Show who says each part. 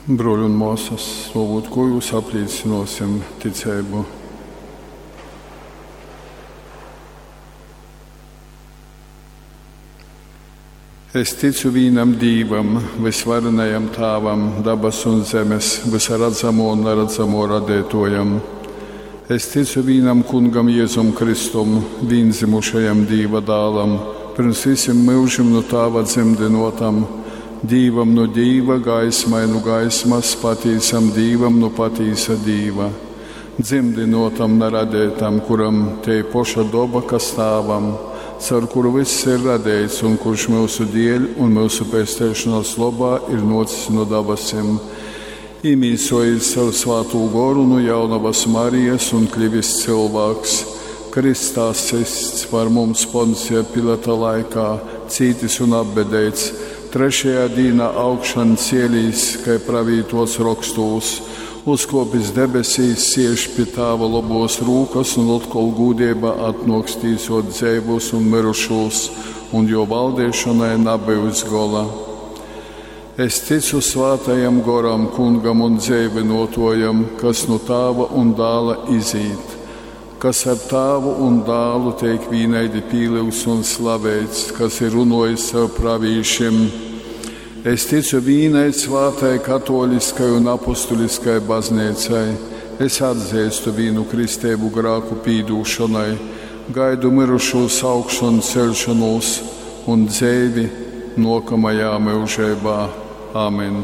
Speaker 1: Bruoļi un muosys, stuovūt kuojuos, aplīcynuosim ticeibu. Es ticu vīnam Dīvam, vysvarenajam Tāvam, dabasu un zemes, vysa radzamuo un naradzamuo radeituojam. Es ticu vīnam Kungam Jezum Kristum, vīndzymušajam Dīva dālam, pyrms vysim myužim nu Tāva dzymdynuotam, Dīvam nu Dīva, gaismai nu gaismas, patīsam Dīvam nu patīsa Dīva, dzymdynuotam, na radeitam, kuram tei poša doba, kas Tāvam, caur kuru vyss ir radeits un kurš myusu dieļ un myusu pesteišonas lobā ir nuocis nu dabasim, īmīsojis caur Svātū Goru nu jaunovas Marijas un klivis cylvāks, krystā systs par mums Poncija Pilata laikā, cītis un apbedeits, trešajā dīnā augšan cielīs, kai pravītots rokstūs, uzkuopis debesīs, siež pi Tāva lobuos rūkas un otkol gūdeibā atnuoks tīsuot dzeivūs un myrušūs, un juo valdeišonai nabyus gola. Es ticu Svātajam Goram, Kungam un dzeivynuotuojam, kas nu Tāva un Dāla izīt, kas ar Tāvu un Dālu teik vīnaidi pīlyugts un slaveits, kas ir runuojis caur pravīšim. Es ticu vīnai svātai katoliskai un apustuliskai bazneicai. Es atzeistu vīnu kristeibu grāku pīdūšonai, gaidu myrušūs augšanceļšonūs un dzeivi nuokamajā myužeibā. Amen.